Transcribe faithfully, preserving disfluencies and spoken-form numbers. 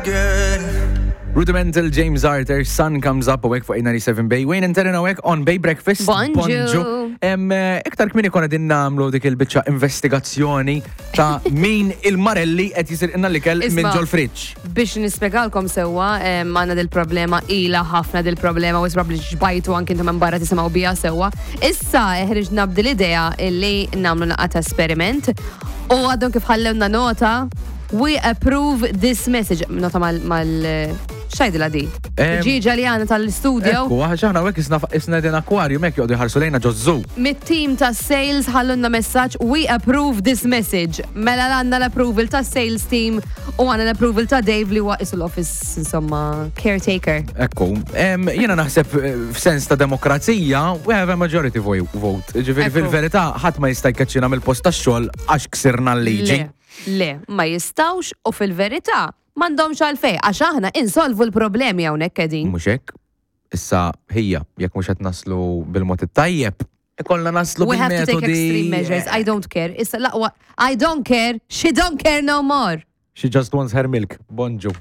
again. Rudimental James Arthur, Sun Comes Up awake fuq eight ninety-seven Bay. Wayne and Taryn awake on Bay Breakfast. Bonġu. Em, eh, iktar kmieni konna din nagħmlu dik il-biċċa investigazzjoni ta' min il-Marelli qed jisirqilna l-ikel minn Isma'. ġol-friġġ. Biex nispjegalkom sewwa, em, għandna dil-problema, ila ħafna dil-problema, u probably xbajtu anki intom minn barra tisimgħu biha sewwa. Issa ħriġna b'dil idea illi nagħmlu naqra ta' esperiment u għadhom kif ħallewna nota: "We approve this message." Nota mal mal x'tgħidilha di? Em, Ġiġa li għandna tal-studio. Ekku, għax aħna hawnhekk isna isna din aquarium hekk joqogħdu jħarsu lejna ġo zoo. Mit-team ta' sales ħallunna messaġġ: "We approve this message." Mela għandna l-approval ta' sales team u għandna l-approval ta' Dave li huwa isu l-office, insomma, caretaker. Ekku, em, jiena naħseb eh, f'sens ta' demokrazija, we have a majority vo- vote. Ġifieri Ekku. fil-verità ħadd ma jista' jkeċċina mill-post tax-xogħol għax ksirna l-liġi. Le, le, ma jistawx u fil-verità m'għandhomx għalfej, għax aħna insolvu l-problemi hawnhekk qegħdin. Mhux hekk? Issa ħija, jekk mhux qed naslu bil-mod it-tajjeb, ikollna naslu We have to take bil-metodi. extreme measures. I don't care. Issa laqwa, I don't care. She don't care no more. She just wants her milk. Bonġu.